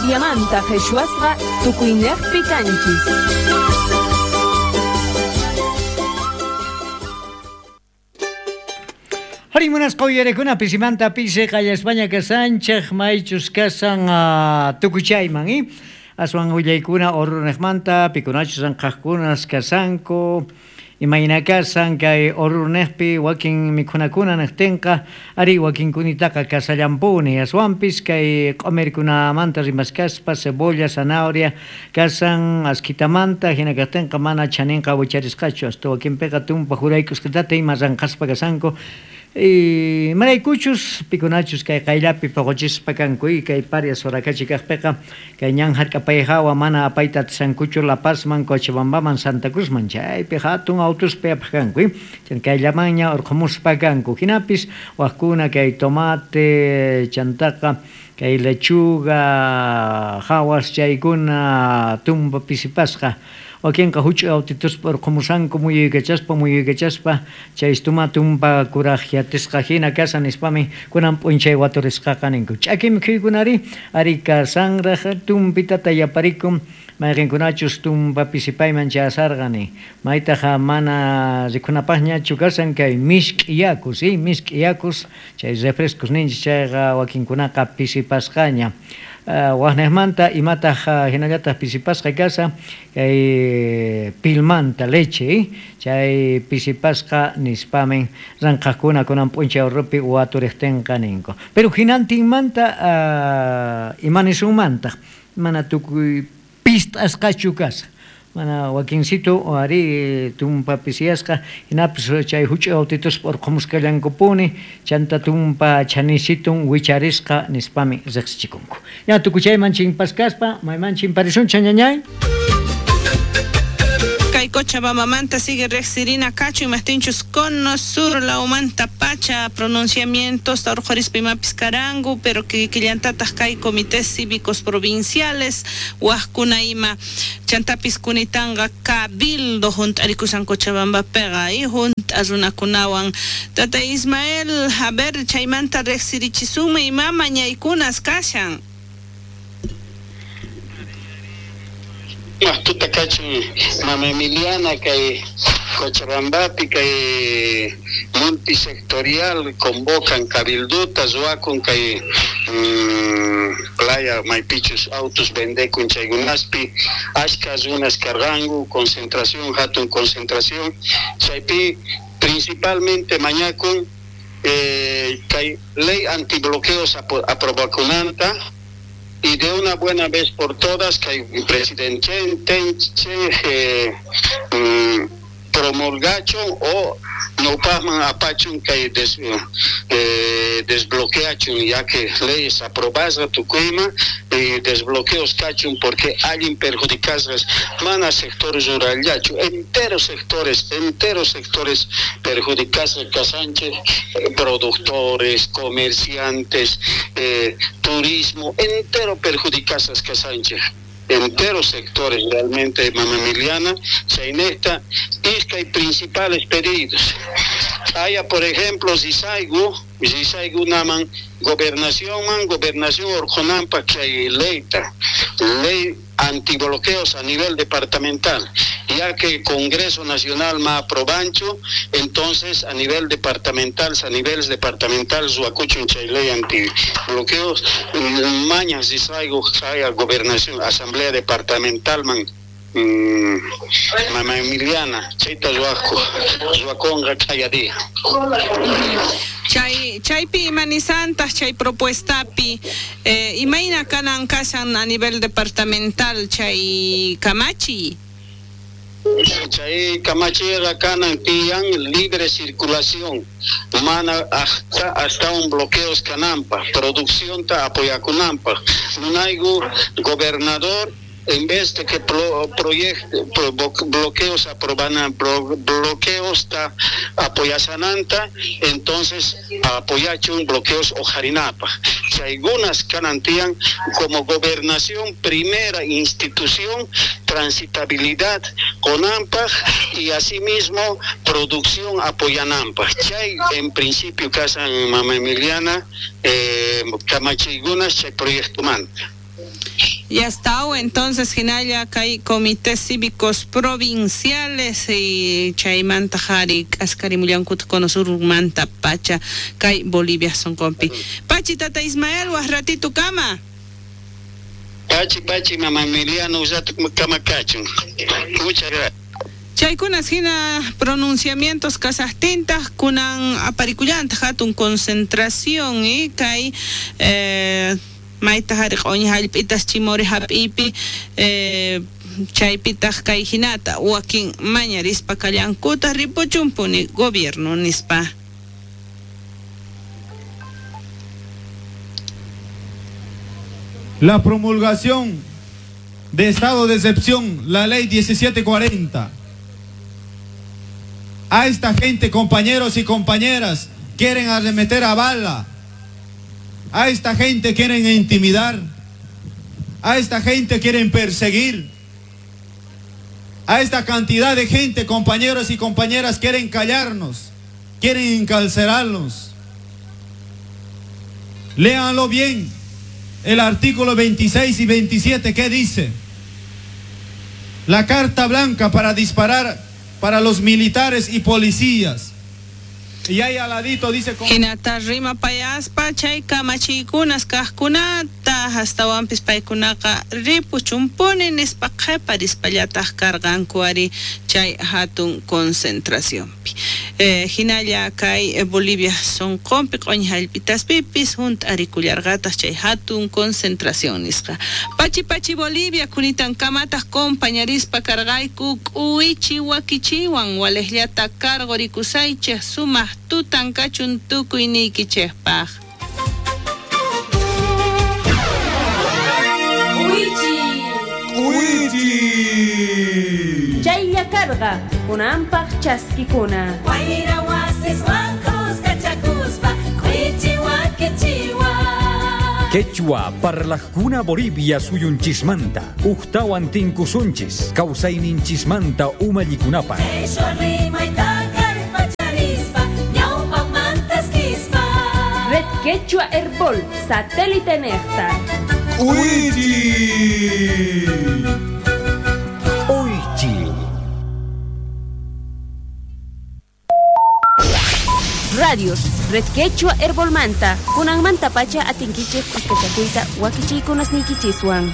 Boliviamanta qheshwasqa tukuynejpi kanchis. Arí, munasqa uyarekuna pisimanta pisi qallaspaña kasanchej maychus kasan tukuchayman i aswan willaykuna Oruro-nejmanta pikunachus ranqhajkunas kasanku imayna kasan kay Oruro-nejpi wakin mikhunakuna nejtinqa arí wakinkunitaqa kasallampuni aswanpis kay q'omirkunamanta rimaskaspa cebolla, zanahoria kasan askhitamanta hina kajtinqa mana chaninqa wicharisqachu hasta wakinpiqa tumpa juraykusqitata ima ranqhaspa kasanku imaraykuchus pikunachus kay qayllapi poqochispa kanku y kay Parias Soraccachi kajpiqa kay ñan hark'apay hawa mana apayta atishankuchu La Pazman, Cochabambaman, Santa Cruzman chaypi hatun autospi apaj kanku kayllamanña urqhumuspa kanku hinapis wajkuna kay tomate chantaqa kay lechuga hawas chaykuna tumpa pisipasqa wakinqa huch'uy autituspa urqhumusanku muyuykachaspa muyuykachaspa chay tuma tumpa kuraj yatisqa hina kasan nispami kunan p'unchay waturisqaqa ninku ch'aki mikhuykunari ari kasanraj tumpitata yaparikun mayqinkunachus tumpa pisipayman chayasarqani maytaqa mana rikhunapaqñachu kasan kay misk'i yakus misk'i yakus chay refrescos ninchis chayqa wakinkunaqa pisipasqaña waqnejmanta imataq hinallataq pisipasqa kasa kay pilmanta leche chay pisipasqa nispamin ranqhajkuna kunan p'unchay Oruropi waturiqtinqa ninku pero hinantinmanta imanisunmantaq mana tukuy pist'asqachu kasa mana wakinsito ari tumpa pisiyasqa hinapis chay huch'uy autituspa urqhumusqallankupuni chanta tumpa chanisitun wicharisqa nispami riqsichikunku ya tukuchayman chimpaskaspa mayman chimparisunchik ñañay. Kay Cochabambamanta sigue riqsirina kachu imajtinchus cono sur lawmanta pacha pronunciamientos urqhurispa imapis karanku pero kikillantataq kay comités cívicos provinciales wajkuna ima chantapis kunitanqa cabildo hunt'arikushan Cochabambapiqa y hunt'a runakunawan tata Ismael a ver chaymanta riqsirichisunman ima mañaykunas kashan. Tuta kachun mama Emiliana kay Cochabambapi kay multisectorial convocan cabilduta ruwakun kay playa maypichus autos vendekun chaykunaspi ashka runas karqanku concentración hatun concentración chaypi principalmente mañakun kay ley antibloqueos aprobakunanta y de una buena vez por todas que el presidente promulgachun o no pasman apachun que desbloqueachun ya que leyes aprobadas tukuima y desbloqueos cachun porque alguien perjudicasgas mana sectores rural yachu enteros sectores perjudicasgas casanche productores comerciantes turismo entero perjudicasgas casanche enteros sectores realmente mama Emiliana chaynejta iskay principales pedidos haya por ejemplo Zisaigu naman gobernación orjonampa chay leyta ley antibloqueos a nivel departamental ya que el Congreso Nacional ma aprobancho entonces a nivel departamental a nivel departamental zuacuchun chay ley antibloqueos mañas Zisaigu haya gobernación asamblea departamental man mama Emiliana chayta ruwaqku ruwakunqa kaya día. Chaypi imanisantaq chay propuestapi imayna kanan kashan a nivel departamental chay kamachi. Chay kamachiqa kanan tiyan libre circulación mana hasta un bloqueos kananpaq producción ta apoyakunanpaq munayku gobernador en vez de que bloqueos aprobanan bloqueos ta apoyasananta entonces apoyachun bloqueos ojarinapa algunas canantían como gobernación primera institución transitabilidad conampa y asimismo producción apoyanampa chay en principio casan mama Emiliana kamachigunas chay proyecto manta. Ya está, entonces hinalla kay comités cívicos provinciales y chaymanta qhari k'askarimullankuta Cono Surmanta pacha kay Bolivia sonqonpi. Pachi tata Ismael waj ratito kama. Pachi pachi mama Emiliano usato kama kachun. Muchas gracias. Chaykunas hina pronunciamientos kasaqtintaq kunan aparikullantaq hatun concentración kay mayta hari q'uñi hallp'itas chimori hap'iypi chaypitaq kay hinata wakin mañarispa kallankuta ripuchunpuni gobierno nispa. La promulgación de estado de excepción, la ley 1740. A esta gente, compañeros y compañeras, quieren arremeter a bala. A esta gente quieren intimidar. A esta gente quieren perseguir. A esta cantidad de gente, compañeros y compañeras, quieren callarnos, quieren encarcelarnos. Léanlo bien. El artículo 26 y 27, ¿qué dice? La carta blanca para disparar para los militares y policías. Y ahí al ladito dice... Hinata rima payaspa chay kamachiykunas kaqkunata hastawanpis paykunaqa ripuchunpuni nispa qheparispallataq karqanku ari chay hatun concentracionpi. Hinalla kay Bolivia sonqonpi q'uñi hallp'itaspipis hunt'arikullarqataq chay hatun concentración nisqa. Pachi pachi Bolivia kunitankamataq compañarispa karqayku k'uwichi wakichiwan waliqllata karqurikusaychej sumaq tutan kachun tukuy niykichejpaq. K'uwichi. K'uwichi. Chaylla karqa kunanpaq chaskikuna. Wayra wasiswan k'uskachakuspa k'uwichi wakichiwan. Quechua parlajkuna Bolivia suyunchismanta ujtawan tinkusunchis kawsayninchismanta umallikunapaq. Qhishwa rimayta kallpacharispa ñawpaqmanta eskispa. Red Quechua Herbol satélite nejta. K'uwichi. K'uwichi. Radios Red Quechua Herbolmanta kunanmanta pacha atinkichej k'uskachakuyta wakichiykunasniykichiswan.